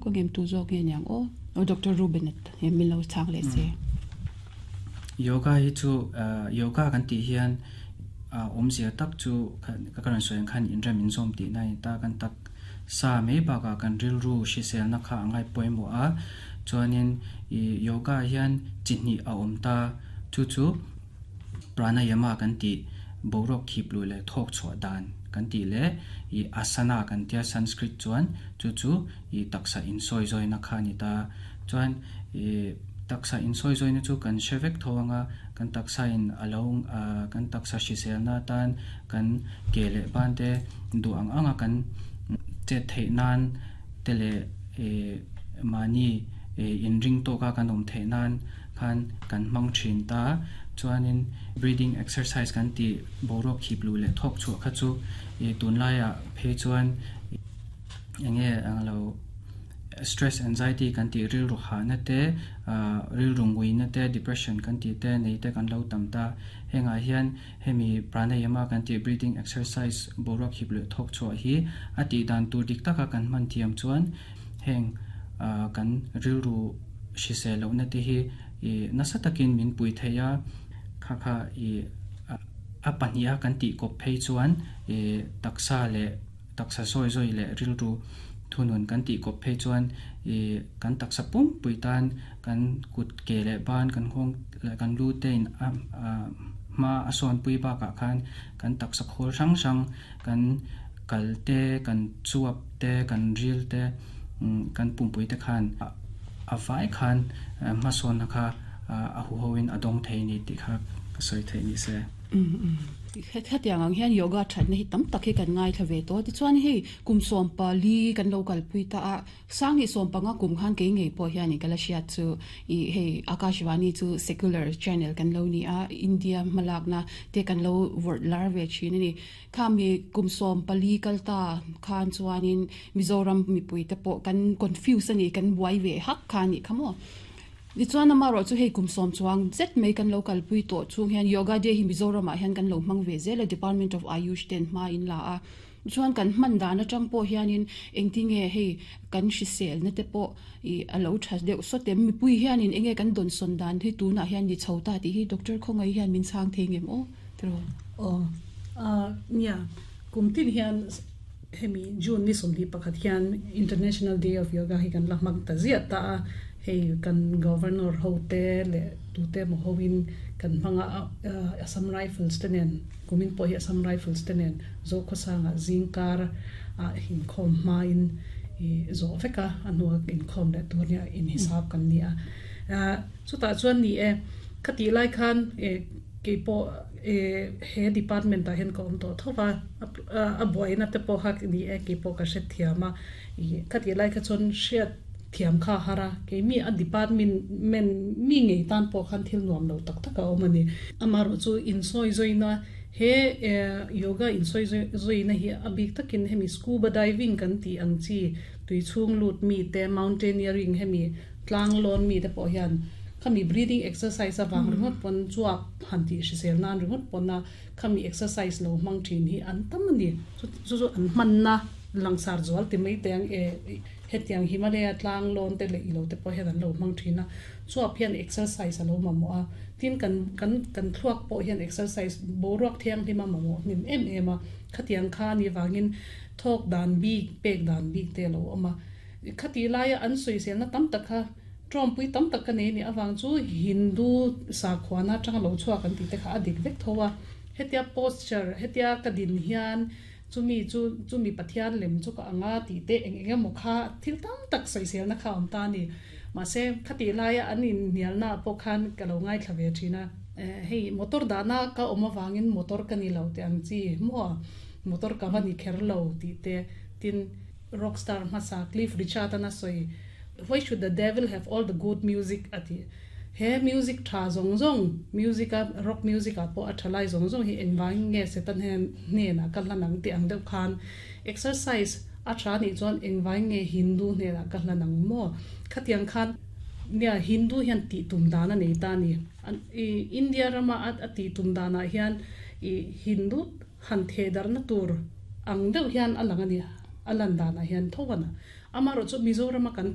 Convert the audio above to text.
angem tu zawk nge niang aw? Aw Doctor Ruben a min lo chhang leh se. Yoga hi chu yoga kan tih hian awmzia tak chu ka rawn sawi ang khan inrem inzawm tihna a ni ta. Kan taksa mai bakah kan rilru hriselna kha a ngai pawimawh a, chuanin yoga hian chi hnih a awm ta. Chu chu pranayama kan tih boruak khip luh leh thawk chhuah dan kan tih leh ih asana kan tia Sanskrit chuan chu chu ih taksa insawi zawina kha a ni ta. Chuan ih taksa insawi zawina chu kan hre vek tho anga kan taksa in a lo kan taksa hriselna atan kan ke leh ban te duh ang anga kan chet theih nan te leh ih mahni ih inring tawka kan awm theih nan khan kan hmang thin ta. Chuanin breathing exercise kan tih boruak khip luh leh thawk chhuah kha chu ih tunlaiah phei chuan eng nge ang lo stress anxiety kan tih rilru hahna te ah rilru nguina te depression kan tih te nei te kan lo tam ta. Hengah hian hemi pranayama kan tih breathing exercise boruak khip luh thawk chhuah hi a tih dan tur dik taka kan hman thiam chuan heng ah kan rilru hrisel lohna te hi ih nasa takin min pui thei a, kha kha ih a pahniha kan tih kawp phei chuan ih taksa leh taksa sawi zawi leh rilru thunun kan tih kawp phei chuan ih kan taksa pumpui tan kan kut ke leh ban kan nghawng leh kan lu te in a hma a sawnpui bakah khan kan taksa khawl hrang hrang kan kal te kan chuap te kan ril te kan pumpui te khan a vai khan hmasawnna kha a huhoin a dawng thei ni tih kha ka sawi theih ni se. Hetiang ang hian yoga thatna hi tam tak hi kan ngaithla ve tawh. Tichuan hei kum 14 kan lo kalpui ta a, 2015 kum khan kei ngei pawh hianin ka la hriat chu ih hei Akashvani chu secular channel kan lo ni a, India hmalakna te kan lo vawrh lar ve thin a ni. Khami kum 14 kal ta khan chuanin Mizoram mipui te pawh kan confuse a ni, kan buai ve hak kha a nih kha maw. Tichuan amaherawh chu hei kum 10 chuang zet mai kan lo kalpui tawh chhung hian Yoga Day hi Mizoramah hian kan lo hmang ve zel a, Department of Ayush ten hma in la a. Chuan kan hman dan atang pawh hianin engtinge hei kan hriselna te pawh ih a lo tha deuh sawt em? Mipui hianin enge kan dawnsawn dan hi tunah hian ni chho ta tih hi Doctor Khawngaih hian min chhang thei ngem aw tiraw? Aw nia, kum tin hian hemi June ni 21 hian International Day of Yoga hi kan la hmang ta ziah ta a, hei kan Governor ho te leh tute emaw hoin kan hmang a, Assam Rifles te nen kumin pawh hi Assam Rifles te nen Zokhawsanga zingkar ah inkhawm hmain ih zawh vek a, a hnua inkhawm leh tur nia inhisap kan ni a. Chutah chuan ni e, khatih lai khan eh keipawh eh he department ah hian ka awm tawh tho va, a buaina te pawh kha ni e keipawh ka hrethiam a, ih khatih lai kha chuan hriat thiam kha a har a, keimi a department mi ngei tan pawh khan thil nuam lo tak tak a awm a ni. Amaherawh chu insawi zawina he yoga insawi zawina hi a bik takin hemi scuba diving kan tih ang chi tui chhung lut mi te mountaineering hemi tlang lawn mi te pawh hian khami breathing exercise avang ringawt pawn chuak han tih hrisel nan ringawt pawna khami exercise lo hmang thin hi an tam a ni. Chu chu an hmanna langsar zual ti mai teh ang e. Hetiang Himalaya tlang lawn te leh ilo te pawh hian an lo hmang thin a, chuap hian exercise a lo mamawh a, tin kan kan kan thluak pawh hian exercise boruak thianghlim a mamawh hnim em em a, khatiang kha a nih vangin thawk dan bik pek dan bik te a lo awm a, khatih laia an sawiselna tam tak kha tawmpui tam tak ka nei a nih avang chu Hindu sakhuana atanga lo chhuak an tih te kha a dik vek tho a, hetia posture hetia ka din hian Chumi chu chumi Pathian lem chu ka ang a tih te eng eng emaw kha thil tam tak sawiselna kha a awm ta a ni. Mahse, khatih laia an inhnialna ah pawh khan ka lo ngaithla ve thin a. Hei, motor dahna ka awm avangin motor ka ni lo tih ang chi maw? Motor ka va ni kher lo tih te, tin rockstar hmasa Cliff Richard an a sawi, Why should the devil have all the good music? a tih. He music tha zawng zawng, music a rock music ah pawh a tha lai zawng zawng hi engvangin nge Satan hian hnenah ka hlan ang tih ang deuh khan exercise a tha nih chuan engvangin nge Hindu hnenah ka hlan ang maw? Khatiang khan nia Hindu hian tih tum dan a nei ta a ni. India rama a tih tum danah hian ih Hindu han theh darhna tur ang deuh hian a lang a ni, a lan danah hian tho a na. Amaherawhchu Mizorama kan.